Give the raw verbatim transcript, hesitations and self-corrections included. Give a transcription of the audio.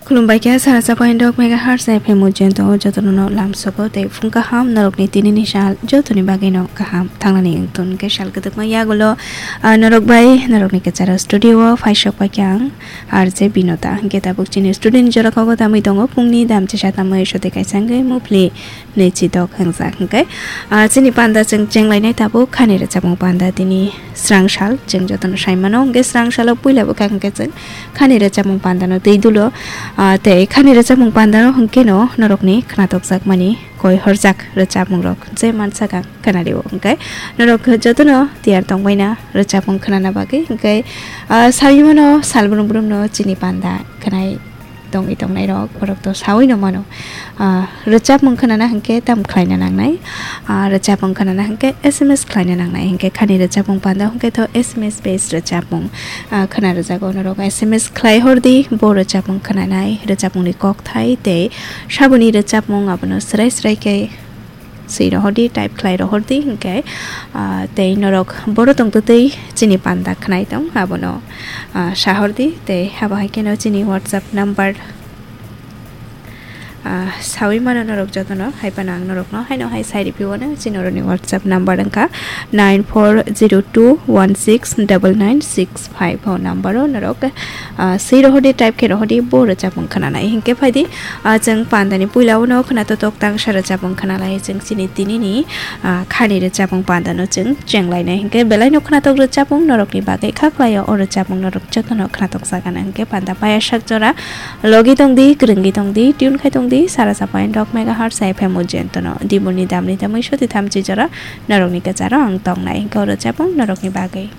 Khulumbai kha sara chapa indok megahertz F M o jento jotono no lamsogo tei phung kaham norokni tinini sal jotoni bagwi no kaham thangnani wngton hwnkhe sal kwdwkma yagulo, ah, norok bai norokni kwcharo studio o phaisok pai khe ang R J Binota hwnkhe tabuk chini student jora kogo tamwi tongo phungni dam chisa tamwi sotwi kaisa wngwi muphli nwichi dok hwngjak hwnkhe, ah, chini panda chwng chenglainai tabuk khani rwchapmung panda tini srang sal chwng jotono sai mano hwnkhe srang salo puila bwkha hwnkhe chwng khani rwchapmung pandano twi dulo, ah, tei khani rwchapmung pandano hwnkhe no norokni khnatokjakmani koi horjak rwchapmungrok je mansak ang khwnari o hwnkhe norok jotono tiyar tongbaina rwchapmung khnana bagwi hwnkhe, ah, sawi mano sal brum brum no chini panda khwnai tongwi tongnairok, borok to sawi no mano. Ah, rwchapmung khwnana hwnkhe tamo khlaina nangnai? Ah, rwchapmung khwnana hwnkhe S M S khlaina nangnai, hwnkhe khani rwchapmung panda hwnkhe to S M S based rwchapmung, ah, khwna rwjago. Norok S M S khlai hordi, bo rwchapmung khwnanai, rwchapmungni kokthai tei saboni rwchapmung abono srai srai khe swi rohordi, type khlai rohordi, hwnkhe, ah, tei norok boro tongtwtwi chini panda khwnai tong, abono, ah, sahordi, tei abo hai kheno chini WhatsApp number, ah, sawi mano norok jotono, hai phano ang norokno haino hai sai riphiwano, chini oroni WhatsApp number wngkha nine four zero two one six double nine six five o number o norok, ah, swi rohordi, type khe rohordi, bo rwchapmung khwnanai. Hinkhe phaidi, ah, chwng pandani puila uno khwnatok tangsa rwchapmung khwnalai chwng chini tinini, ah, khani rwchapmung pandano chwng chenglainai. Hinkhe belaino khwnatok rwchapmung norokni bagwi kha khlaio, o rwchapmung norok jotono khwnatok jagana. Hinkhe panda paya sak jora logi tongdi, kwrwngwi tongdi, tune khai tongdi, sara chapa indok megahertz F M o jentono. Dibuni damni tamwi soti thamchi jora norokni kwcharo ang tongnai. Hinkhe o rwchapmung norokni bagwi.